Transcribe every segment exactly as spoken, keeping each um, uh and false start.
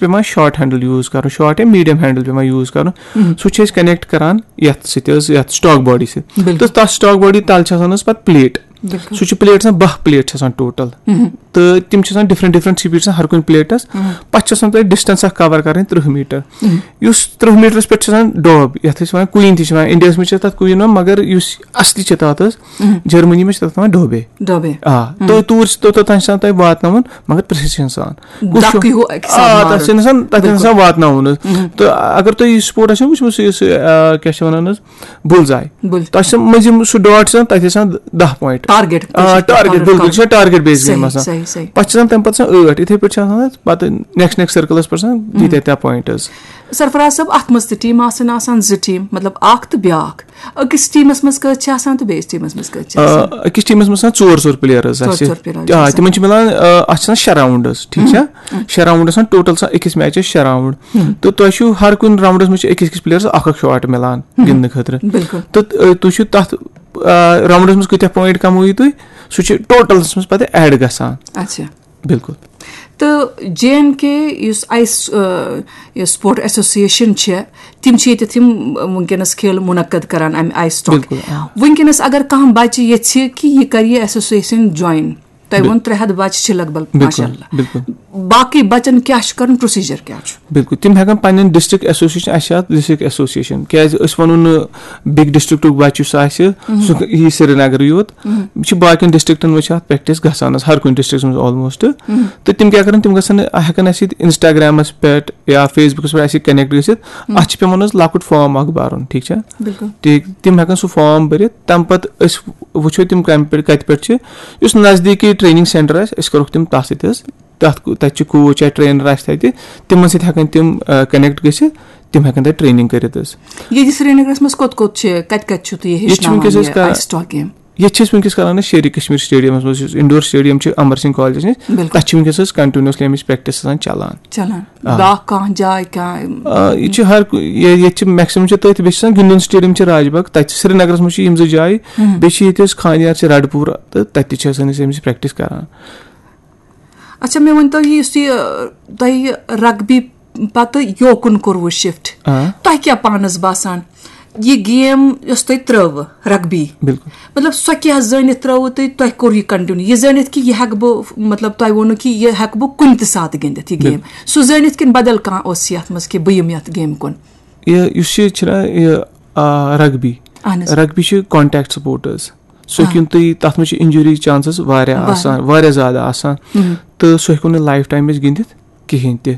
پٮ۪وان short handle use کرُن، short یا میٖڈیم ہینڈل پٮ۪وان یوٗز کرُن۔ سُہ چھِ أسۍ کنیکٹ کران یتھ سۭتۍ حظ، یتھ سٹاک باڈی سۭتۍ۔ بِلکُل۔ تہٕ تتھ سٹاک باڈی تل چھِ آسان حظ پتہٕ پلیٹ۔ بِلکُل۔ سُہ چھُ پلیٹ آسان، باہ پلیٹ چھِ آسان ٹوٹل۔ تہٕ تِم چھِ آسان ڈفرنٹ ڈفرنٹ سپیڈ آسان ہر کُنہِ پلیٹس۔ پتہٕ چھِ آسان تۄہہِ ڈسٹینس اکھ کور کرٕنۍ ترٕٛہ میٖٹر۔ یُس ترٕٛہ میٖٹرس پٮ۪ٹھ چھِ آسان ڈوب، یتھ أسۍ ونان کویٖن تہِ چھِ ونان، انڈیاہس منٛز چھِ تتھ کویٖن ونان، مگر یُس اصلی چھِ تتھ حظ، جرمنی منٛز چھِ تتھ ونان ڈوبے۔ ڈوبے۔ آ، تہٕ توٗرۍ چھِ توٚتتھ تام چھِ آسان تۄہہِ واتناوُن، مگر پرٛیسیٖجن سان۔ کُس چھُ؟ دَکہٕ ہیوٗ اَکہِ ساتہٕ آ، مارُن۔ تَتھ چھِ آسان، تَتھ چھِ بِلکُل۔ آسان واتناوُن حظ۔ تہٕ اگر تُہۍ یہِ سپورٹ آسیو وٕچھمُت، سُہ یُس، آ، کیٛاہ چھِ وَنان حظ، بُلزاے۔ بُل۔ تَتھ چھِ آسان مٔنٛزِم سُہ ڈاٹ چھِ آسان، تَتھ چھِ آسان دَہ پویِنٛٹ۔ ٹارگیٹ۔ آ، ٹارگیٹ، بِلکُل، یہِ چھِ ٹارگیٹ بیس گیم صحیح، آسان۔ صحیح، صحیح۔ پَتہٕ چھِ آسان تَمہِ پَتہٕ آسان ٲٹھ، یِتھَے پٲٹھۍ چھِ آسان حظ پَتہٕ نیکسٹ، نیکسٹ سٔرکٕلَس پٮ۪ٹھ آسان ییٖتیٛاہ تیٛاہ پویِنٛٹ حظ۔ سرفراز صٲب، اَتھ منٛز تہِ ٹیٖم آسان، آسان زٕ ٹیٖم، مطلب اَکھ تہٕ بیٛاکھ۔ أکِس ٹیٖمَس منٛز کٔژ چھِ آسان تہٕ بیٚیِس ٹیٖمَس منٛز کٔژ چھِ آ، آسان؟ أکِس ٹیٖمَس منٛز آسان ژور ژور پٕلیر حظ ژور اَسہِ۔ ژور پٕلیر آ، آسان۔ تِمَن چھِ مِلان، آ، اَتھ چھِ آسان شےٚ راوُنٛڈ حظ، ٹھیٖک چھا؟ شےٚ راوُنٛڈ آسان ٹوٹل، آسان أکِس میچَس شےٚ راوُنٛڈ۔ تہٕ تۄہہِ چھُو ہر کُنہِ راوُنٛڈَس منٛز چھِ أکِس أکِس پٕلیرَس اَکھ اَکھ شاٹ مِلان گِنٛدنہٕ خٲطرٕ۔ بِلکُل۔ تہٕ، آ، تُہۍ چھِو تَتھ، آ، راوُنٛڈَس منٛز کۭتیٛاہ پویِنٛٹ کَمٲیِو تُہۍ، سُہ چھُ ٹوٹلَس منٛز پَتہٕ ایڈ گژھان۔ اچھا۔ بِلکُل۔ تہٕ جے اینڈ کے یُس آیِس، آ، یہِ سپورٹ ایسوسیشن چھِ، تِم چھِ ییٚتٮ۪تھ یِم، آ، وٕنکیٚنَس کھیل مُنعقد کران اَمہِ آیِس ٹاک۔ بِلکُل، آ۔ وٕنکیٚنَس اگر کانٛہہ بَچہِ ییٚژھِ کہِ یہِ کَرِ یہِ ایسوسیشن جویِن، تۄہہِ بِل-، ووٚن ترٛےٚ ہَتھ بَچہِ چھِ لگ بگ، بِلکُل، ماشاء اللہ۔ بِلکُل۔ باقٕے بَچَن کیٛاہ چھُ کَرُن، پروسیجر کیٛاہ چھُ؟ بِلکُل، تِم ہٮ۪کَن پَنٕنٮ۪ن ڈسٹرکٹ ایسوسیشن، اَسہِ چھِ اَتھ ڈسٹرکٹ ایسوسیشن، کیٛازِ أسۍ وَنو نہٕ بِگ ڈسٹرکٹُک بَچہِ یُس آسہِ، سُہ یی سرینگرٕ یوت۔ یہِ چھِ باقین ڈسٹرکٹن منٛز چھِ اَتھ پریکٹس گژھان حظ، ہر کُنہِ ڈسٹرکٹس منٛز آلموسٹ۔ تہٕ تِم کیٛاہ کَرَن، تِم گژھن نہٕ، ہٮ۪کَن اَسہِ ییٚتہِ انسٹاگرامَس پٮ۪ٹھ یا فیس بُکَس پٮ۪ٹھ اَسہِ سۭتۍ کنیکٹ گٔژھِتھ۔ اَتھ چھِ پٮ۪وان حظ لۄکُٹ فارم اَکھ بَرُن، ٹھیٖک چھا؟ بِلکُل۔ ٹھیٖک، تِم ہٮ۪کَن سُہ فارم بٔرِتھ، تَمہِ پَتہٕ أسۍ وٕچھو تِم کَمہِ پٮ۪ٹھ، کَتہِ پٮ۪ٹھ چھِ۔ یُس نزدیٖکی ٹریننگ سینٹر آسہِ، أسۍ کَروکھ تِم تَتھ سۭتۍ حظ۔ تَتھ کُ-، تَتہِ چھِ کوچ یا ٹرینر آسہِ تَتہِ، تِمن سۭتۍ ہٮ۪کَن تِم، آ، کنیکٹ گٔژھِتھ، تِم ہٮ۪کَن تَتہِ ٹریننگ کٔرِتھ حظ۔ ییٚتہِ سرینگرس منٛز کوٚت کوٚت چھِ، کَتہِ کَتہِ چھِو تُہۍ یہِ ییٚتہِ چھِ وٕنکیٚس ہیٚچھناوان أسۍ یہِ کران، آیِس ٹاک گیم؟ ییٚتہِ چھِ أسۍ وٕنکیٚس کران أسۍ شیرِ کشمیر سٹیڈیمس منٛز، یُس انڈور سٹیڈیم چھُ امر سنگھ کالجس نِش، بِلکُل۔ تَتہِ چھِ وٕنکیٚس أسۍ کنٹینیوسلی اَمِچ پریکٹس آسان چلان۔ چلان۔ آ۔ بیٛاکھ کانٛہہ جاے کانٛہہ؟ آ، ییٚتہِ چھِ ہر کُ-، یہِ-، ییٚتہِ چھِ میکسِمم چھِ تٔتھۍ، بیٚیہِ چھِ آسان گِنٛدُن سٹیڈیم چھِ راج باغ، تَتہِ چھِ سرینگرس منٛز چھِ یِم زٕ جایہِ، بیٚیہِ چھِ ییٚتہِ حظ خانیار چھِ رڈپوٗر، تہٕ تَتہِ تہِ چھِ آسان أسۍ أمِس پریکٹس کران۔ اچھا، مےٚ ؤنۍ تو، یُس یہِ، تۄہہِ یہِ رگبی پتہٕ یوکُن کوٚروٕ شفٹ، آ۔ تۄہہِ کیٛاہ پانس باسان، یہِ گیم یۄس تۄہہِ ترٲوٕ، رگبی، بِلکُل۔ مطلب، سۄ کیٛاہ زٲنِتھ ترٲوٕ تۄہہِ، تۄہہِ کوٚر یہِ کنٹینیو، یہِ زٲنِتھ کہِ یہِ ہٮ۪کہٕ بہٕ، مطلب، تۄہہِ ووٚنوٕ کہِ یہِ ہٮ۪کہٕ بہٕ کُنہِ تہِ ساتہٕ گِنٛدِتھ یہِ گیم، بِلکُل۔ سُہ زٲنِتھ کِنہٕ بدل کانٛہہ اوس یتھ منٛز کہِ بہٕ یِمہٕ یتھ گیمہِ کُن؟ یہِ، یُس یہِ چھُنہ یہِ، آ، رگبی، اہن حظ۔ رگبی چھِ کانٹیکٹ سپورٹ حظ۔ سُہ آ۔ ہیٚکہِ نہٕ تُہۍ، تَتھ منٛز چھِ انجری چانسز واریاہ واریاہ۔ آسان، واریاہ زیادٕ آسان۔ مہم۔ تہٕ سُہ ہیٚکو نہٕ لایف ٹایم أسۍ گِنٛدِتھ کِہیٖنۍ تہِ۔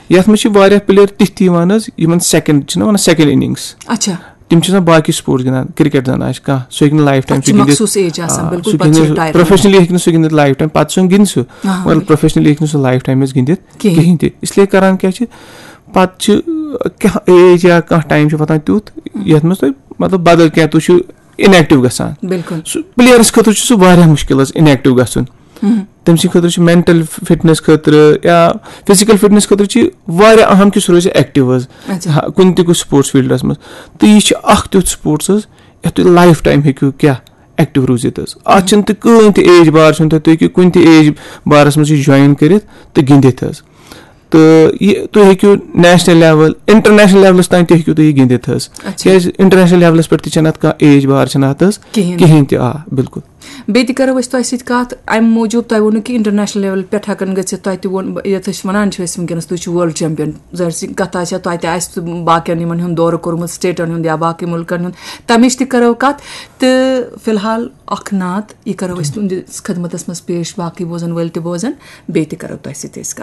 یَتھ منٛز چھِ واریاہ پٕلیر تِتھۍ تہِ یِوان حظ، یِمن سیکنڈ چھِنہ وَنان، سیکنڈ اننگس۔ اچھا۔ تِم چھِ آسان باقٕے سپورٹس گِنٛدان، کرکٹ زَن آسہِ کانٛہہ، سُہ ہیٚکہِ نہٕ لایف ٹایم تَتھ چھِ تہِ گِنٛدِتھ۔ مخصوٗص ایج آسان، آ، بِلکُل، سُہ پَتہٕ چھِ گِنٛدِ رِٹایَر گژھان۔ پروفیشنلی ہیٚکہِ نہٕ سُہ گِنٛدِتھ لایف ٹایم، پَتہٕ چھُ سُہ گِنٛدِ سُہ، آ، مگر پروفیشنلی ہیٚکہِ نہٕ سُہ لایف ٹایم حظ گِنٛدِتھ کِہیٖنۍ۔ کِہیٖنۍ تہِ۔ اس لیے کران کیٛاہ چھِ، پَتہٕ چھِ کانٛہہ ایج یا کانٛہہ ٹایم چھُ واتان تیُتھ، یَتھ منٛز تۄہہِ مطلب بدل کینٛہہ، تُہۍ چھِو انیکٹو گژھان۔ بِلکُل۔ سُہ پٕلیرَس خٲطرٕ چھُ سُہ واریاہ مُشکِل حظ انیکٹو گژھُن۔ تٔمۍ سٕنٛدِ خٲطرٕ چھُ مینٹل فٹنس خٲطرٕ یا فزیکل فٹنس خٲطرٕ چھِ واریاہ اہم کہِ سُہ روزِ ایکٹیو حظ۔ اچھا۔ ہا، کُنہِ تہِ کُنہِ سپورٹس فیلڈس منٛز۔ تہٕ یہِ چھُ اکھ تیُتھ سپورٹس حظ، یَتھ تُہۍ لایف ٹایم ہیٚکِو کیٛاہ ایکٹیو روٗزِتھ حظ۔ اَتھ چھِنہٕ تہِ کٕہٕنۍ تہِ ایج بار چھُنہٕ تۄہہِ، تُہۍ ہیٚکِو کُنہِ تہِ ایج بارس منٛز یہِ جوین کٔرِتھ تہٕ گِنٛدِتھ حظ۔ تہٕ یہِ تُہۍ ہیٚکِو نیشنل لیول، انٹرنیشنل لیولس تام تہِ ہیٚکِو تُہۍ یہِ گِنٛدِتھ حظ۔ اچھا۔ کیٛازِ انٹرنیشنل لیولس پٮ۪ٹھ تہِ چھَنہٕ اَتھ کانٛہہ ایج بار چھَنہٕ اَتھ حظ۔ کِہیٖنۍ۔ کِہیٖنۍ تہِ، آ، بِلکُل۔ بیٚیہِ تہِ کرو أسۍ تۄہہِ سۭتۍ کتھ، امہِ موٗجوٗب تۄہہِ ووٚنوٕ کہِ انٹرنیشنل لیول پٮ۪ٹھ ہٮ۪کن گٔژھِتھ، تۄہہِ تہِ ووٚن، یتھ أسۍ ونان چھِ أسۍ وٕنکیٚنس، تُہۍ چھِو ورلڈ چیمپین، ظٲہر سی کتھ آسہِ ہا، تۄہہِ تہِ آسہِ باقین یِمن ہُنٛد دورٕ کوٚرمُت، سٹیٹن ہُنٛد یا باقٕے مُلکن ہُنٛد، تمِچ تہِ کرو کتھ۔ تہٕ فی الحال اکھ نعت، یہِ کرو أسۍ تُہنٛدِس خدمتس منٛز پیش، باقٕے بوزن وٲلۍ تہِ بوزن، بیٚیہِ تہِ کرو تۄہہِ سۭتۍ أسۍ کتھ۔